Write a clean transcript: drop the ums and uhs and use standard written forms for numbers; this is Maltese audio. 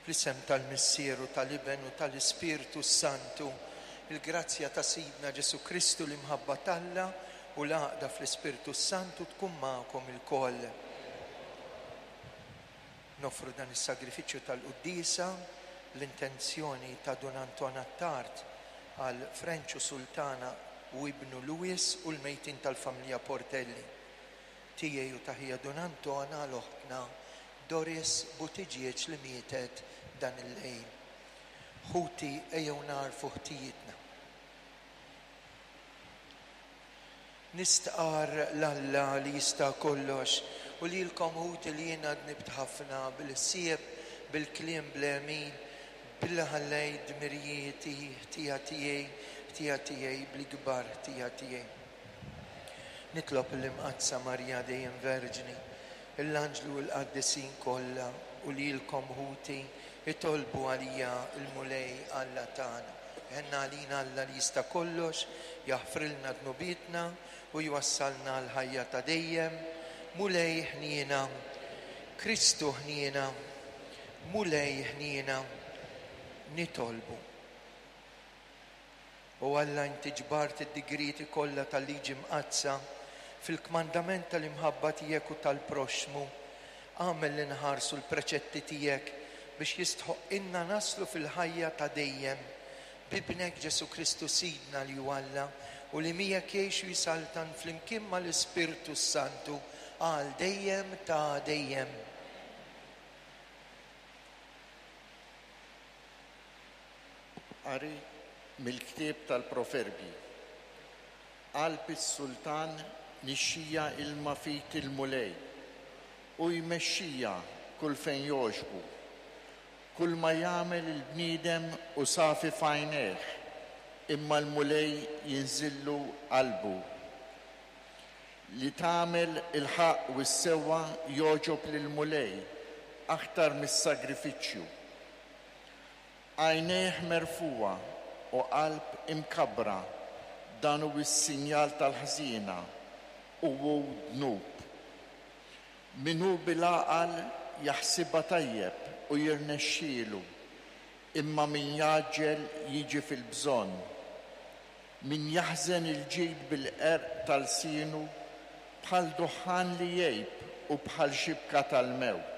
Fl-isem tal-Missier u tal-Iben u tal-Ispirtu s-Santu, il-grazzja ta' Sidna Ġesù Kristu, l-imħabba t'Alla u l-għaqda fl-Ispirtu s-Santu tkun magħkom ilkoll. Noffru dan is-sagrifiċċju tal-quddiesa bl-intenzjoni ta' Dun Anton Attard għal Frenċu Sultana u ibnu Louis u l-mejtin tal-familja Portelli. Tiegħi u ta' ħija Dun Anton għal oħtna Doris Buttigieg li mietet dan il-lejl. Ħuti ejjew nagħrfu ħtijietna. Nistqarr 'l Alla li jista' kollox u lilkom ħuti li jiena dnibt ħafna bil-ħsieb, bil-kliem, bl-għemil, billi ħallejt dmirijieti, ħtija tiegħi, ħtija tiegħi, bl-ikbar ħtija tiegħi. Nitlob lill-Imqaddsa Marija dejjem Verġni, l-anġli u l-qaddisin kollha u lilkom ħuti, itolbu għalija l-Mulej Alla tagħna. Iħenn għalina Alla li jista' kollox, jaħfrilna dnubietna u jwassalna għall-ħajja ta' dejjem. Mulej ħniena. Kristu ħniena. Mulej ħniena. Nitolbu. O Alla inti ġbart id-digrieti kollha tal-Liġi Mqaddsa fil-kmandament tal-imħabba tiegħek u tal-proxxmu. Agħmel li nħarsu l-preċetti tiegħek biex jistħoqqilna naslu fil-ħajja ta' dejjem. B'Ibnek Ġesù Kristu Sidna li hu Alla u li miegħek jgħix u jsaltan flimkien mal-Ispirtu s-Santu għal dejjem ta' dejjem. Qari mill-ktieb tal-Proverbji. Qalb is-sultan nixxija ilma f'id il-Mulej, hu jmexxija kull fejn jogħġbu. Kulma jagħmel il-bniedem hu safi f'għajnejh, imma l-Mulej jinżillu qalbu. Li tagħmel il-ħaqq u s-sewwa jogħġob lill-Mulej aktar mis-sagrifiċċju. Għajnejh merfugħa u qalb imkabbra, dan hu s-sinjal tal-ħżiena, u hu dnub. Min hu bil-għaqal jaħsibha tajjeb u jirnexxielu, imma min jgħaġġel jiġi fil-bżonn. Min jaħżen il-ġid bil-qerq ta' lsienu, bħal duħħan li jgħib u bħal xibka tal-mewt.